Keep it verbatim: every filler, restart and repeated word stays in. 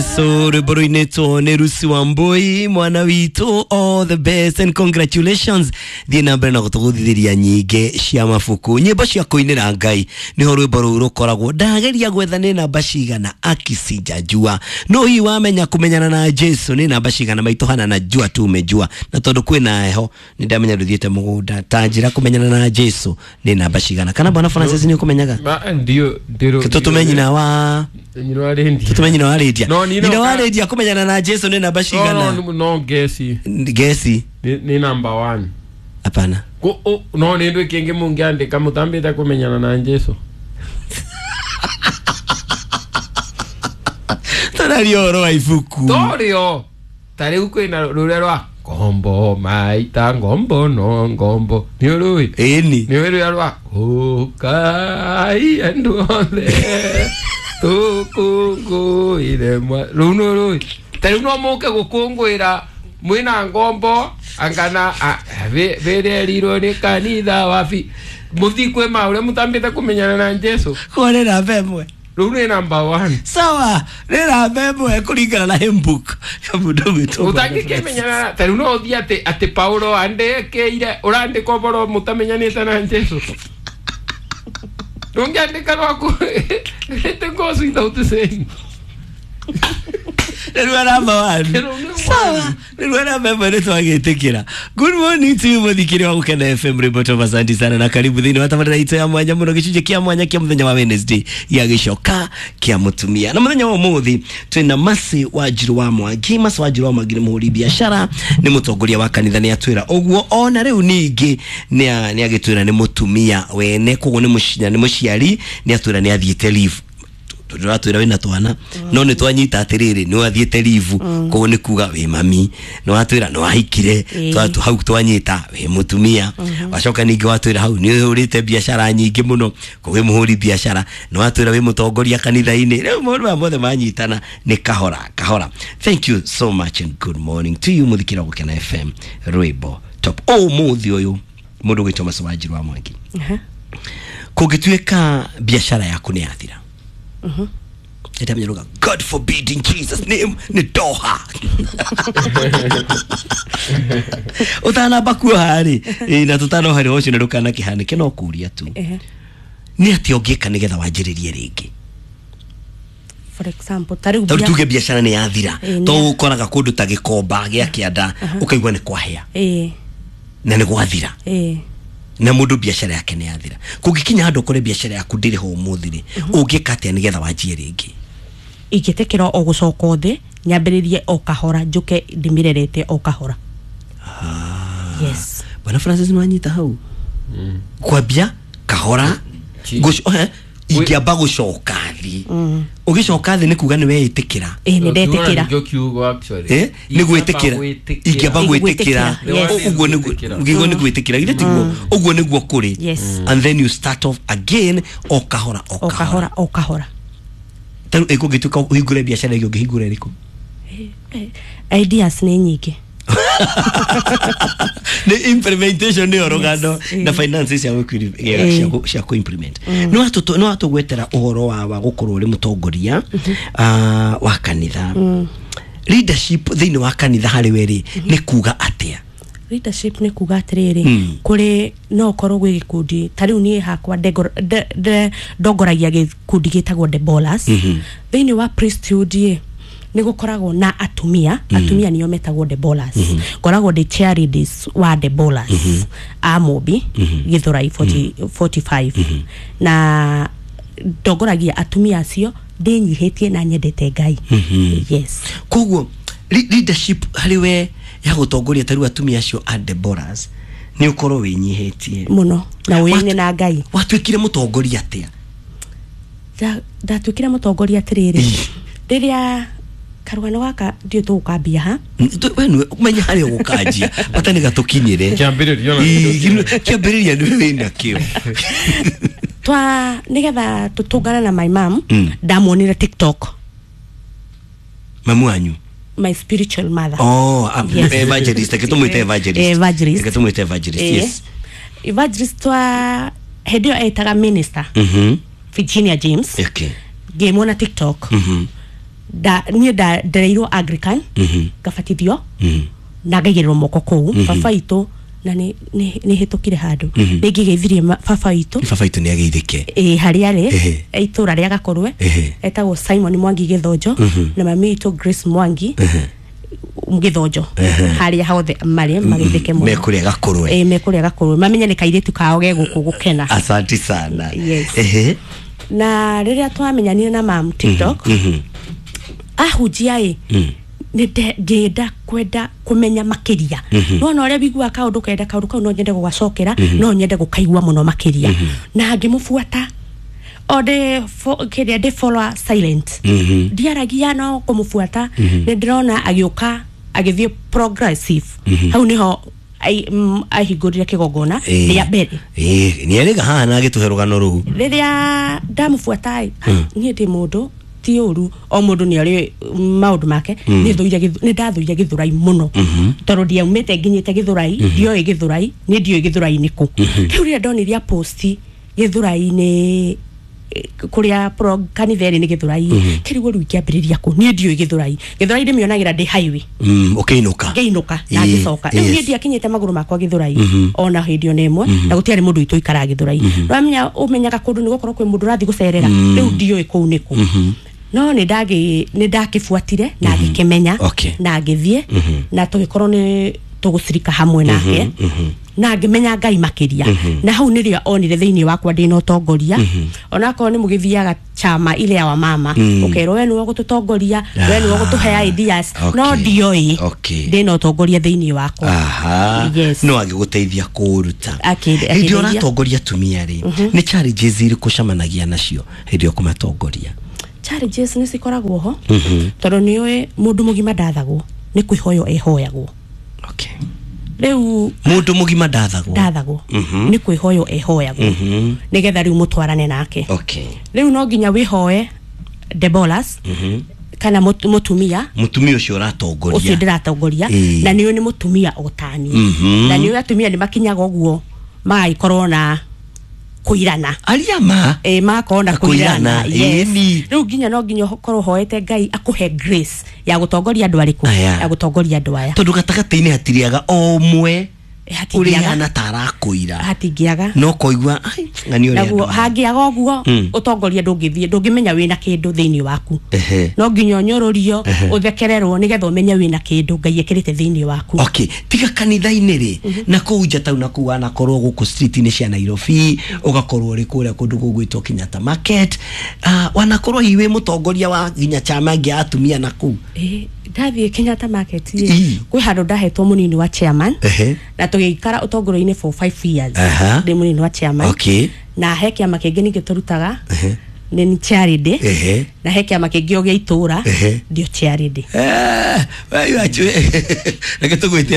So rwimbo rũinĩtwo nĩ Lucy Wambui mwana witũ, all the best and congratulations. Thiĩ na mbere na gũtũgũthithĩria nyingĩ cia mabuku, nyĩmbo cia kũinĩra Ngai nĩho rwĩmbo rũu rũkoragwo. Ndageria gwetha nĩ namba cigana akicinjanjua, no hihi wamenya kũmenyana na Jesu nĩ namba cigana maitũ hana na jua tu umejua, na tondũ kwĩna heho nĩ ndamenya ndũthiĩte mũgũnda ta njĩra kũmenyana na Jesu nĩ namba cigana. Kana bwana Francis nĩ ũkũmenyaga? Ma ndio ndiro. Tũtũme nyina wa nyina wa Lydia. Tũtũme nyina wa Lydia. No, ni nyina wa Lydia kũmenyana na Jesu nĩ namba cigana? No, no, no gesi. Gesi Ni, ni number one. Hapana. Ko oh, no ni ndu kingi mungiandika mutambite kumenyana na Jesu. Tarario ũhoro wa ibuku. Torio. Tariu kwina ruria rwa ngombo maita ngombo no ngombo. Ni urui. Ĩni. Ni ruria rwa ukai andu othe tukungũire mwa rũu nĩ rũĩ ta rĩu no mũke gũkũngũĩra mwĩna ngombo angana bĩrerirwo nĩ kanitha wabi mũthiĩ kwĩ ma ũrĩa mũtambĩte kũmenyana na Jesu. Kwa nĩ namba ĩmwe. Rũu nĩ number one. Sawa, nĩ namba ĩmwe kũringana na hymn book ya mũndũ ũgwĩtwo ũtangĩkĩmenyana ta rĩu no ũthiĩ atĩ atĩ Paulo andĩkĩire ũrandĩka ũhoro mũtamenyanĩte na Jesu. Ndũngĩandĩka rwaku it goes without saying. Nĩrua namba one. Sawa, nĩrua namba ĩmwe nĩ twagĩtĩkĩra. Good morning to you mũthikĩri wa Gũkena F M rwĩmbo Top. Asante sana na karibu thĩinĩ wa tabarĩra itũ ya mwanya mũno, gĩcunjĩ kĩa mwanya kĩa mũthenya wa Wednesday gĩa gĩcoka kĩa mũtumia. Na mũthenya wa ũmũthĩ twĩna Mercy Wanjiru wa Mwangi. Mercy Wanjiru wa Mwangi nĩ mũhũri biacara, nĩ mũtongoria wa kanitha, nĩ atwĩra ũguo. Ona rĩu ningĩ nĩ agĩtwĩra nĩ mũtumia wene, koguo nĩ mũciari, nĩ mũciari, nĩ atwĩra nĩ athiĩte leave. Tũratwĩra wĩna twana no nĩ twanyita atĩrĩrĩ nĩ wathiĩte leave, koguo nĩ kuga wĩ mami, nĩ watwĩra nĩ wahikire, twatu hau twanyita wĩ mũtumia, wacoka ningĩ watwĩra hau nĩ ũhũrĩte biacara nyingĩ mũno, koguo wĩ mũhũri biacara, nĩ watwĩra wĩ mũtongoria kanitha-inĩ. Rĩu maũndũ maya mothe manyitana nĩ kahora kahora. Thank you so much and good morning to you mũthikĩra Gũkena F M rwĩmbo Top. Ũmũthĩ ũyũ mũndũ ũgwĩtwo Mercy Wanjiru wa Mwangi, kũngĩtuĩka biacara yaku nĩ yathira, Mhm. mm. God forbid in Jesus name ni doha. Utanamba kuoha rĩ na tutanoha rĩ ũcio nĩ ndũkanakĩhanĩke no kũria tu. Nĩ atĩa ũngĩka nĩgetha wanjĩrĩrie rĩngĩ? For example, ta rĩu tuge biacara nĩ yathira, to ũkoraga kũndũ ta Gĩkomba gĩa kĩanda ũkaigua nĩ kwahĩa na nĩ gwathira na mũndũ biacara yake nĩ yathira. Kũngĩkinya handũ ũkore biacara yaku ndĩrĩ ho ũmũthĩ rĩ, ũngĩka atĩa nĩgetha wanjie rĩngĩ? Ingĩtĩkĩra o gũcoka thĩ nyambĩrĩrie o kahora, njũke ndĩmĩrerete o kahora. Yes. Bwana Francis nĩ wanyita hau? Kwambia kahora ingĩamba gũcoka thĩ. Ũgĩcoka thĩ nĩ kuga nĩ weĩtĩkĩra. Ĩĩ nĩ ndetĩkĩra. Nĩ gwĩtĩkĩra. Ingĩamba gwĩtĩkĩra. Ũguo nĩguo nĩ gwĩtĩkĩra. Githĩ tiguo? Ũguo nĩguo kũrĩ. And then you start off again o kahora o kahora o kahora. Ta rĩu ĩkũngĩtuĩka ũhingũre biacara ĩngĩ ũngĩhingũra ĩrĩkũ? Ideas nĩ nyingĩ. The implementation nĩ rũgano na finances cia cia ku implement. No atu no atugwetera ũhoro wa wa gũkorwo ũrĩ mũtongoria wa kanitha. Leadership thĩinĩ wa kanitha harĩ we rĩ nĩ kuga atĩa? Leadership nĩ kuga atĩrĩrĩ, kũrĩ no ũkorwo gwĩ gĩkundi ta rĩu niĩ hakwa ndongoragia gĩkundi gĩtagwo Debolas. Thĩinĩ wa priesthood ĩ nĩ gũkoragwo na atumia, atumia nĩo metagwo Debolas. Ngoragwo ndĩ chair ladies wa Debolas a Mũmbi Gĩthũrai forty-five, na ndongoragia atumia acio ndĩnyihĩtie na nyendete Ngai. Yes. Koguo leadership harĩ we ya gũtongoria ta rĩu atumia acio a Debolas nĩ ũkorwo wĩnyihĩtie mũno na ũyaine na Ngai. Watuĩkire mũtongoria atĩa? Ndatuĩkire mũtongoria atĩrĩrĩ, rĩrĩa karugano gaka ndiũ tũgũkambia ha we nĩwe ũmenye harĩa ũgũkanjia bata nĩ gatũkinyĩre kĩambĩrĩria kĩambĩrĩria nĩwe wĩna kĩo. Twa nĩgetha tũtũngane na my mom, ndamuonire TikTok. Mamu wanyu? My spiritual mother. Oh, yes. Evangelist. Reke tũmwĩte evangelist. Evangelist. Reke tũmwĩte evangelist. Yes. Evangelist twa hĩndĩ ĩyo etaga minister. Mhm. Virginia James. Okay. Ngĩmuona TikTok. Mhm. nda niĩ nda- ndereirwo Anglican, ngabatithio na ngaigĩrĩrwo moko kũu. Baba witũ na nĩ nĩ- nĩ hĩtũkire handũ nĩ ngĩgeithirie ma- baba witũ. Baba witũ nĩ ageithĩke. Ĩ harĩa arĩ, Ehe. itũra rĩa Gakorwe, Ehe. etagwo Simon Mwangi Gĩthonjo, na mami witũ Grace Mwangi Gĩthonjo, harĩa hothe marĩ mageithĩke mũno. Mekũrĩa Gakorwe. Ĩ, mekũrĩa Gakorwe, mamenye nĩ kairĩtu kao ge gũkũ gũkena. Asante sana. Yes. Ehe. Na rĩrĩa twamenyanire na mam TikTok ahunjia ĩ, nĩ ngĩenda kwenda kũmenya makĩria. Nona ũrĩa wiguaga kaũndũ kenda kaũndũ kau, no nyende gũgacokera, no nyende gũkaigua mũno makĩria, na ngĩmũbuata o ndĩ fo- kĩrĩa ndĩ follower silent, ndiaragia, no kũmũbuata. Nĩ ndĩrona agĩũka agĩthiĩ progressive. Hau nĩho ai- mm, ahingũrire kĩgongona Ĩ. rĩa mbere. Ĩ, nĩ erĩga haha na agĩtũhe rũgano rũu. Rĩrĩa ndamũbuata ĩ, niĩ ndĩ mũndũ ti ũru, o mũndũ nĩ arĩ maũndũ make. Nĩ thũire gĩthu- nĩ ndathũire Gĩthũrai mũno, tondũ ndiaumĩte nginyĩte Gĩthũrai, ndioĩ Gĩthũrai, niĩ ndioĩ Gĩthũrai nĩ kũ. Rĩu rĩrĩa ndonirie post Gĩthũrai-inĩ, eh, kũrĩa pro- kanitha ĩrĩ nĩ Gĩthũrai, kĩrigwo rĩu ingĩambĩrĩria kũ? Niĩ ndiũĩ Gĩthũrai. Gĩthũrai ndĩmĩonagĩra ndĩ highway Mm, ũkĩinũka. Ngĩinũka na Ĩ, ngĩcoka. Rĩu niĩ yes. ndiakinyĩte magũrũ makwa Gĩthũrai ona hĩndĩ ona ĩmwe, na gũtiarĩ mũndũ witũ ũikaraga Gĩthũrai. Ũramenya ũmenyaga kũndũ nĩ gũkorwo kwĩ mũndũ ũrathiĩ gũcerera. Rĩu ndiũĩ kũu nĩ kũ, no nĩ ndagĩ nĩ ndakĩbuatire na ngĩkĩmenya Okay. na ngĩthiĩ, na tũgĩkorwo nĩ tũgũcirika hamwe nake, na ngĩmenya Ngai makĩria. Na hau nĩrĩo onire thĩinĩ wakwa ndĩna ũtongoria, onakorwo nĩ mũgĩthiaga chama ile ya wamama, ũkerwo we nĩwe ũgũtũtongoria, we nĩwe ũgũtũhe ideas, no Okay. ndioĩ Okay. ndĩna ũtongoria thĩinĩ wakwa. Aha. Yes. No agĩgũteithia kũũruta. Akĩ- Hĩndĩ ĩrĩa akĩndeithia. ũratongoria atumia rĩ, nĩ challenges irĩkũ ũcemanagia nacio hĩndĩ ĩyo kũmatongoria? Challenges nĩ cikoragwo ho, tondũ nĩ ũĩ mũndũ mũgima ndathagwo, nĩ kwĩhoywo ehoyagwo. Okay. Rĩu Mũndũ mũgima ndathagwo. Ndathagwo, nĩ kwĩhoywo ehoyagwo nĩgetha rĩu mũtwarane nake. Okay. Rĩu no nginya wĩhoe Debolas kana mũtu- mũtumia Mũtumia ũcio ũratongoria. Ũcio ndĩratongoria. Ĩĩ. Na nĩũ nĩ mũtumia o tani, Mhm. na nĩũ atumia nĩ makinyaga ũguo magagĩkorwo na kũirana. Aria ma. Ĩ, magakorwo na Na kũirana, kũirana, yes. ĩni. Rĩu nginya no nginya ũkorwo hoete Ngai akũhe grace ya gũtongoria andũ arĩkũ, Aya. ya gũtongoria andũ aya. Tondũ gatagatĩ-inĩ hatirĩaga o ũmwe Hatingĩaga. ũrĩa ta arakũira. Hatingĩaga. No koigua ai ng'ani ũrĩa Naguo andũ aya. hangĩaga ũguo, ũtongoria ndũngĩthiĩ, ndũngĩmenya wĩna kĩndũ thĩinĩ waku. Ehe. No nginya ũnyũrũrio, ũthekererwo, nĩgetha ũmenye wĩna kĩndũ Ngai ekĩrĩte thĩinĩ waku. Okay, tiga kanitha-inĩ rĩ, na kũu nja tau, na kũu wanakorwo gũkũ street-inĩ cia Nairobi, ũgakorwo ũrĩ kũrĩa kũndũ gũgwĩtwo Kenyatta Market, uh, wanakorwo hihi wĩ mũtongoria wa nginya chama ĩngĩ ya atumia na kũu. Ĩ, ndathiĩ Kenyatta Market rĩ, Ĩ. kwĩ handũ ndahetwo mũnini wa chairman, Ehe. na tũgĩikara ũtongoria-inĩ for five years. Aha. Ndĩ mũnini wa chairman. Okay. Na he kĩama kĩngĩ ningĩ tũrutaga, Ehe. nĩ charity. Ehe. Na he kĩama kĩngĩ o gĩa itũra, Ehe. ndio charity. Eh, we, you actually- reke tũgwĩte.